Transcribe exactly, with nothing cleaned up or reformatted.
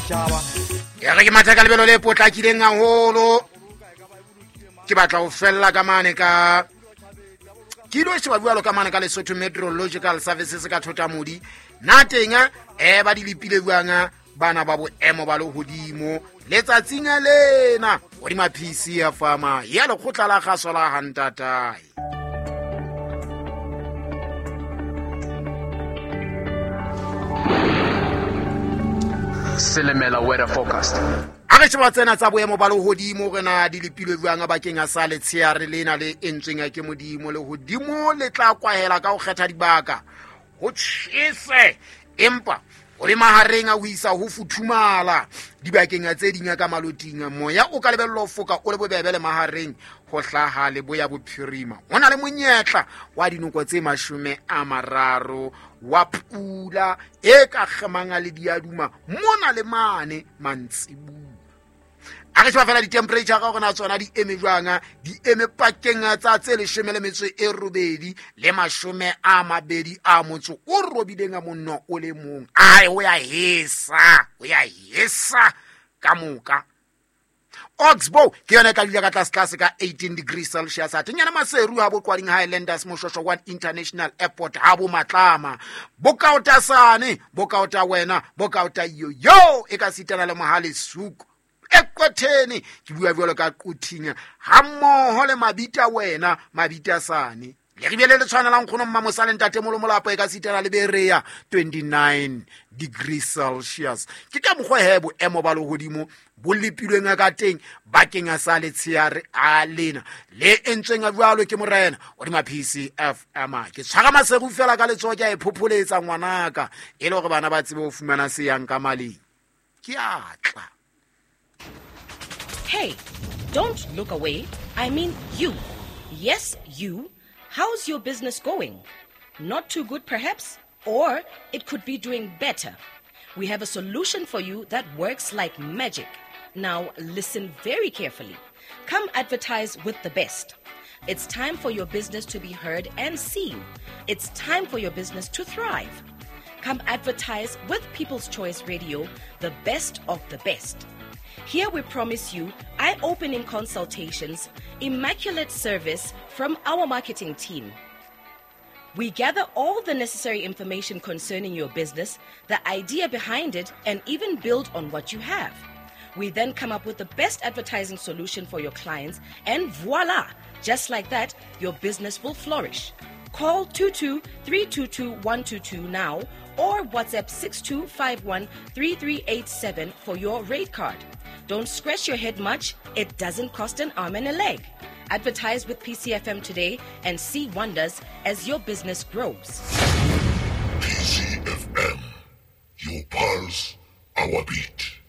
Ditjhaba. Ya re ke matha ka lebelo le potlakileng haholo. Ke batla ho fella ka mane ka ke ilo sheba jwalo ka mane ka Lesotho Meteorological Services ka Thotamodi. Na teng eh ba di lepile jwang bana ba boemo ba lehodimo letsatsing lena hodima P C F M ya lekgotla la kgaso la Hantatae. Silimela weather forecast. A re sheba tsena tsa boemo ba lehodimo re na di lepilwe jwang bakeng a sa letsheare lena le entsweng ke Modimo. Lehodimo le tla kwahela ka ho kgetha dibaka ho tjhese, empa o le mahareng a ho isa ho futhumala dibakeng tse ding ka maloting. Moya o ka lebellwa ho foka o le bobebe le mahareng ho hlaha leboya bophirima. Ho na le monyetla wa dinoko tse mashome a mararo wa pula e ka kgemang le diaduma mona le mane mantsibuya. A re sheba fela di-temperature ka hore na tsona di eme jwang, di eme pakeng tsa tse leshome le metso e robedi le mashome a mabedi a motso o robileng a monno o le mong. Ai, o ya hesa, o ya hesa ka moka. Oxbow ke yona e tla dula ka tlase tlase ka eighteen degrees Celsius. Atenyana Maseru ha bo Qwading Highlanders Moshwashwa one International Airport ha bo Matlama. Bokaotasane, bokaota wena, bokaota yo yo e ka sitana le Mohale Suku. Ekwetheni ke bua jwalo ka Quthing ha mmoho le Mabita wena Mabita sane. Le re bile le tshwanelang kgono mma Mosale ntate Molomolapo e ka sitana le Berea twenty-nine degrees Celsius. Ke ka mokgwa he boemo ba lehodimo bo lepilweng ka teng bakeng a sa letsheare a lena le entsweng jwalo ke morena hodima P C F M. Ke tshwara maseru fela ka letsoho ke a e phopholetsa ngwanaka e le hore bana ba tsebe ho fumana se yang ka maleng. Ke atla. Hey, don't look away. I mean you. Yes, you. How's your business going? Not too good, perhaps? Or it could be doing better. We have a solution for you that works like magic. Now, listen very carefully. Come advertise with the best. It's time for your business to be heard and seen. It's time for your business to thrive. Come advertise with People's Choice Radio, the best of the best. Here we promise you eye-opening consultations, immaculate service from our marketing team. We gather all the necessary information concerning your business, the idea behind it, and even build on what you have. We then come up with the best advertising solution for your clients, and voila! Just like that, your business will flourish. Call two two three two two one two two now or WhatsApp six two five one three three eight seven for your rate card. Don't scratch your head much. It doesn't cost an arm and a leg. Advertise with P C F M today and see wonders as your business grows. P C F M, your pulse, our beat.